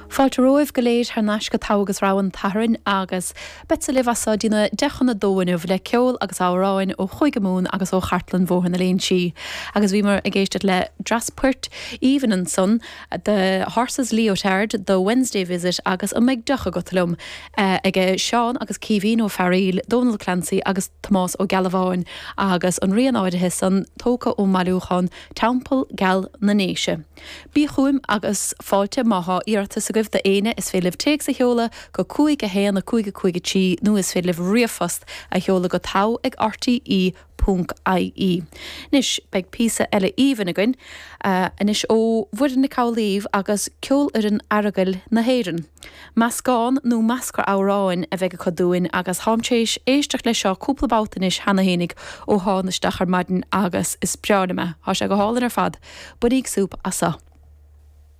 Fáilte romhaibh go léir thar n-ais go Togha agus Rogha an tSathairn agus beadsa libh as so dtí na 1:50 inniu le ceol agus amhráin ó Chúige Mumhan agus ó Chartlann Bhóthar na Léinsí. Agus bhíomar ag éisteacht le dreas poirt aoibhinn ansan, The Horse's Leotard, The Wednesday Visit agus An mbeidh deoch agat liom? aige Seán agus Caoimhín Ó Fearaíl, Dónal Clancy agus Tomás Ó Gealbháin agus an rian áirithe san tógtha ón mbailiúchán Teampall Geal na nDéise. Bí chughaim agus fáilte má thá iarratas agaibh do éinne is féidir libh téacs a sheoladh go 5 1 5 5 3 nó is féidir libh ríomhphost a sheoladh go togha ag rte ponc ie. Anois beidh píosa eile aoibhinn againn anois ó Mhuireann Nic Amhlaoibh agus Ceolfhoireann Aireagail na hÉireann. Meascán nó meascra amhráin a bheidh acu dúinn agus táim tar éis éisteacht leis seo cúpla babhta anois cheana fhéinig ó thána isteach ar maidin agus is breá liom é. Tá sé go hálainn ar fad. Bainigí súp as seo.